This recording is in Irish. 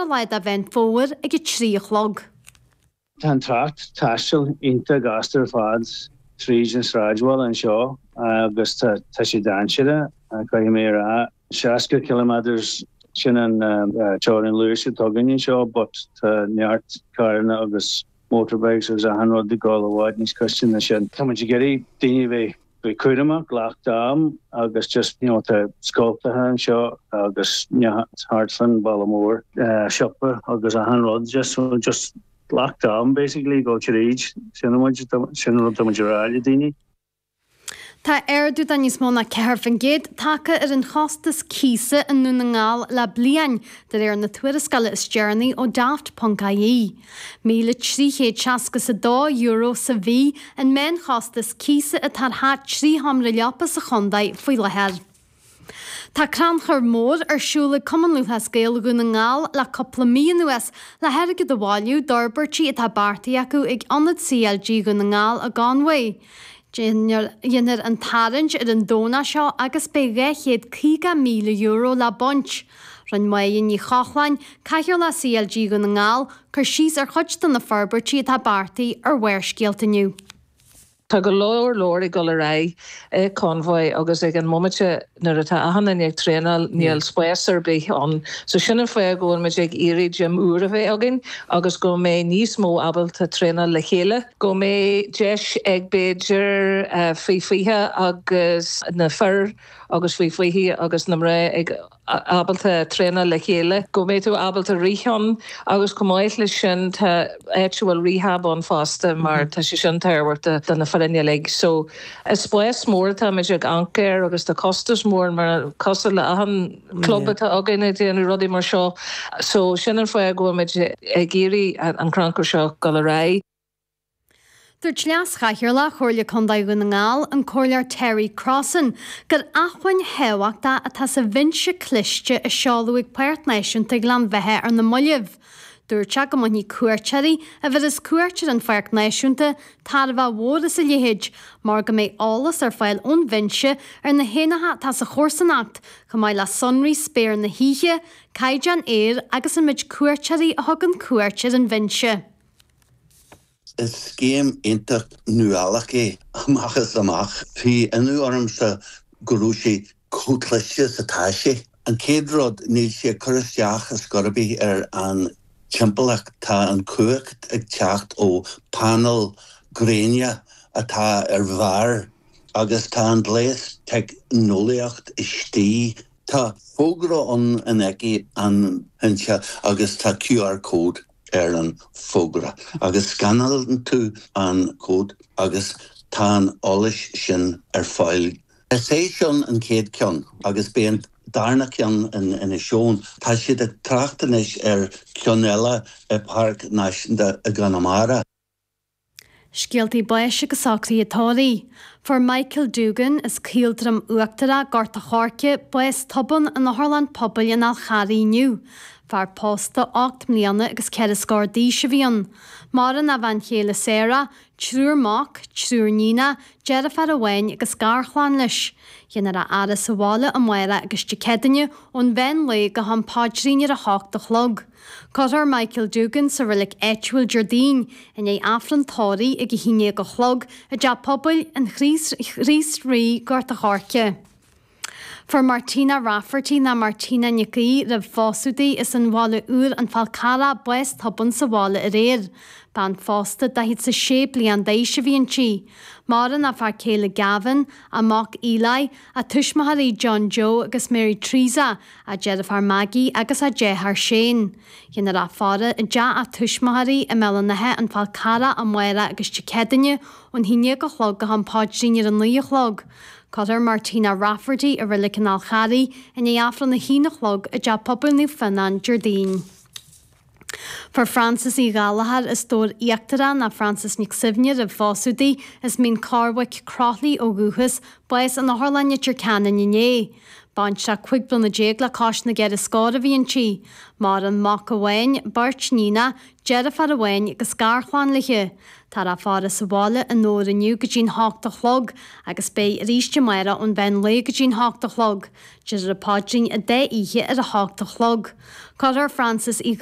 lá de Mheán Fómhair ag 3 a chlog. Tá an trácht taistil iontach gasta ar fad tríd an sráidbhaile anseo agus tá sé dainséarach, caithfidh mé a rá. 60 kilometres, sin an teorainn luais atá againn anseo but tá neart carranna agus motorbikes agus achan rud ag dul i bhfad níos gaiste ná sin. Tá muid ag iarraidh daoine a bheith bheith cúramach, glac d'am agus just you know tá scoltacha anseo agus thart fán bhaile mór, siopa agus achan rud just so just glac d'am basically go tríd sin muid sin rud tá muid a rá le daoine. Tá ardú de níos mó ná 4% tagtha ar an chostas cíosa i nDún na nGall le bliain, de réir na tuarascála is deireanaí ó Daft ponc ie. €1,362 sa mhí an meánchostas cíosa atá ar theach 3 sheomra leapa sa chontae faoi láthair. Tá crannchur mór ar siúl ag Cumann Lúthchleas Gael Dhún na nGall le cúpla mí anuas le hairgead a bhailiú d'fhorbairtí atá beartaithe acu ag Ionad CLG Dhún na nGall i gConmhaigh. Déanfar an tarraingt ar an Domhnach seo agus beidh €250,000 le baint. Rinne Máire Ní Chochláin, Cathaoirleach CLG Dhún na nGall, cur síos ar chuid de na forbairtí atá beartaithe ar Bharrscéalta inniu. Tá go leor leor ag dul ar aghaidh i Convoy agus ag an mbomaite nuair atá achan duine ag traenáil níl spás ar bith ann. So sin an fáth go bhfuil muid ag iarraidh gym úr a bheith againn agus go mbeidh níos mó ábalta traenáil le chéile, go mbeidh deis ag b'fhéidir faoi 20 agus na fir agus faoi 20 agus na mná ag ábalta traenáil le chéile, go mbeidh tú ábalta rith ann agus chomh maith leis sin tá áit a bhfuil rehab ann fosta mar tá sé sin tábhachtach do na foireann uilig. So is spás mór atáimid ag amharc air agus tá costas mór mar cosúil le achan club atá againn ag déanamh rudaí mar seo. So sin an fáth go bhfuil muid ag iarraidh an crannchur seo dul ar aghaidh. Dúirt Leas-Chathaoirleach Chomhairle Contae Dhún na nGall, an Comhairleoir Terry Crossan, gur acmhainn thábhachtach atá sa bhinse cliste a seoladh ag Páirc Náisiúnta Ghleann Bheatha ar na mallaibh. Dúirt sé go mbainfidh cuairteoirí a bhéas cuairt ar an Pháirc Náisiúnta tairbhe mhór as a leithéid mar go mbeidh eolas ar fáil ón bhinse ar na héanacha atá sa chomharsanacht, chomh maith le sonraí spéir na hoíche, caighdeán aeir agus an méid cuairteoirí a thugann cuairt ar an bhinse. Is scéim iontach nuálach é amach is amach. Bhí ionadh ormsa go raibh sé chomh cliste is atá sé. An chéad rud, níl sé ag cur isteach ar scor ar bith ar an timpeallacht. Tá an chumhacht ag teacht ó panel gréine atá ar bharr agus tá an gléas teicneolaíocht istigh. Tá fógra ann in aice an bhinse agus tá QR code. ar an bhfógra agus scanálann tú an cód agus tá an eolas sin ar fáil. Is é sin an chéad ceann agus beidh an darna ceann in Inis Eoghain. Tá siad ag trácht anois ar cheann eile i bPáirc Náisiúnta i gConamara. Scéaltaí báis agus socruithe tórraimh. Fuair Michael Doogan, as Caoldroim Uachtarach, Gort a' Choirce, bás tobann in Otharlann Pobail an Fhál Charraigh inniu. Fear pósta 8 mbliana agus ceithre scór d'aois a bhí ann. Maireann a bhean chéile Sarah, triúr mac, triúr níonach, deirfiúr amháin agus garchlann leis. Déanfar a fhaire sa bhaile amárach agus Dé Céadaoine ón mheán lae go ham paidrín ar a hocht a chlog. Cuirfear Michael Doogan sa reilig áitiúil Déardaoin i ndiaidh Aifreann tórraimh ag 11 a chlog i dTeach Pobail an Chríost Rí, Gort a' Choirce. Fuair Martina Rafferty ná Martina Nic Aoidh roimh phósadh di as an Bhaile Úr An Fál Carrach bás tobann sa bhaile aréir. Bean phósta 46 bliain d'aois a bhí inti. Maireann a fear céile Gavin, a mac Eli, a tuismitheoirí John Joe agus Mary Teresa, a deirfiúr Maggie agus a deartháir Shane. Déanfar a faire i dteach a tuismitheoirí i mBéal an Átha, An Fál Carrach amárach agus Dé Céadaoine ón 11 a chlog go ham paidrín ar a 9 a chlog. Cuirfear Martina Rafferty i Reilig an Fháil Charraigh i ndiaidh Aifreann a haon a chlog i dTeach Pobail Naomh Fionnán Déardaoin. Fuair Frances Uí Ghallchóir as Dobhar Íochtarach ná Frances Nic Suibhne roimh phósadh di, as Mín Cormhaic, Croithlí ó dhúchas, bás in Otharlann Leitir Ceanainn inné. Baintreach 15 bliana le cois na gceithre scór a bhí inti. Maireann mac amháin, beirt níonach, deirfiúr amháin agus garchlann léi. Táthar á faire sa bhaile i nDobhar inniu go dtí'n hocht a chlog agus beidh arís amárach ón mheán lae go dtí'n hocht a chlog. Déarfar an paidrín an dá oíche ar a hocht a chlog. Cuirfear Frances Uí.